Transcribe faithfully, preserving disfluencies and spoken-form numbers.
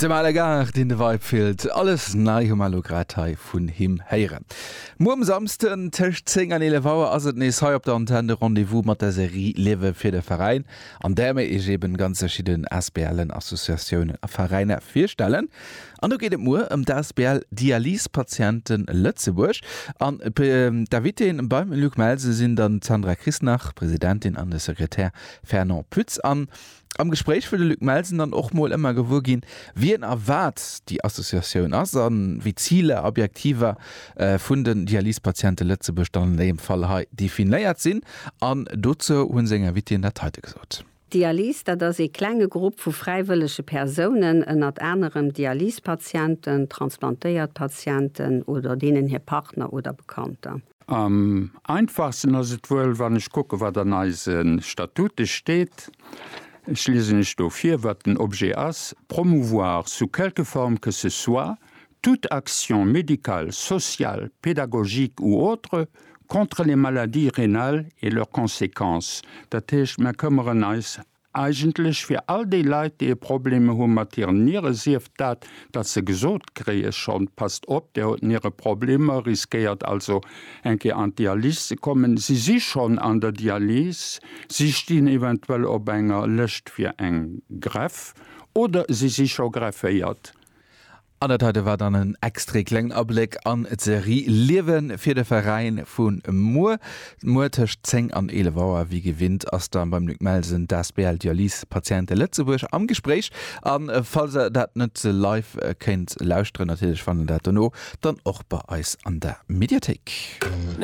Dem Ale Gaart, deen de Vibe fillt. Alles nei hu mer elo grad hei vun him héieren. Muer um Samsden tëscht zéng an eelef Auer ass et nees hei op der Antenn de Rendez-vous mat der Serie Liewe fir de Veräin, an där mir iech eben ganz verschidden ASBLen, Associatiounen a Veräiner virstellen. An do geet et muer ëm d'A S B L Dialysepatienten Lëtzebuerg. An d'Invitéen beim Luc Melsen sinn dann d'Sandra Christnach, Presidentin, an de Sekretär Fernand Pütz. An am Gespréich wëll de Luc Melsen dann och mol ëmmer gewuer ginn, wien a wat déi Associatioun ass an wéi d'Ziler, Objektiver vun den Dialysepatiente Lëtzebuerg dann an deem Fall hei definéiert sinn. An dozou hunn seng Invitéen dat heite gesot. Dialys, dat ass ee klenge Grupp vu fräiwëllege Persounen, ënnert anerem Dialysepatienten, transplantéiert Patienten oder deenen hir Partner oder Bekannter. Am einfachsten ass et wuel, wann ech kucke wat an eise Statute steet. Ech liesen iech do vir, wat den Objet ass: Promouvoir sous quelque forme que ce soit toute action médicale, sociale, pédagogique ou autre contre les maladies rénales et leurs conséquences. Dat heescht, mir këmmeren eis eigentlech fir all déi Leit, déi Problemer hu mat hiren Niere, sief dat, datt se gesot kréie schonn, passt op, der huet Niereproblemer, riskéiert also eng Kéier an d'Dialys ze kommen. Si si schonn an der Dialys, si stinn eventuell op enger Lëscht fir eng Greff oder si si scho grefféiert. An dat heite war dann en extra klengen Abléck an d'Serie Liewe fir de Veräin vu muer. Muer tëscht zéng an eelef Auer, wéi gewinnt, ass da beim Luc Melsen d'A S B L Dialysepatiente Lëtzebuerg am Gespréich. An falls der dat net live kéint lauschteren, natierlech fannt der dat dono dann och bei eis an der Mediathéik.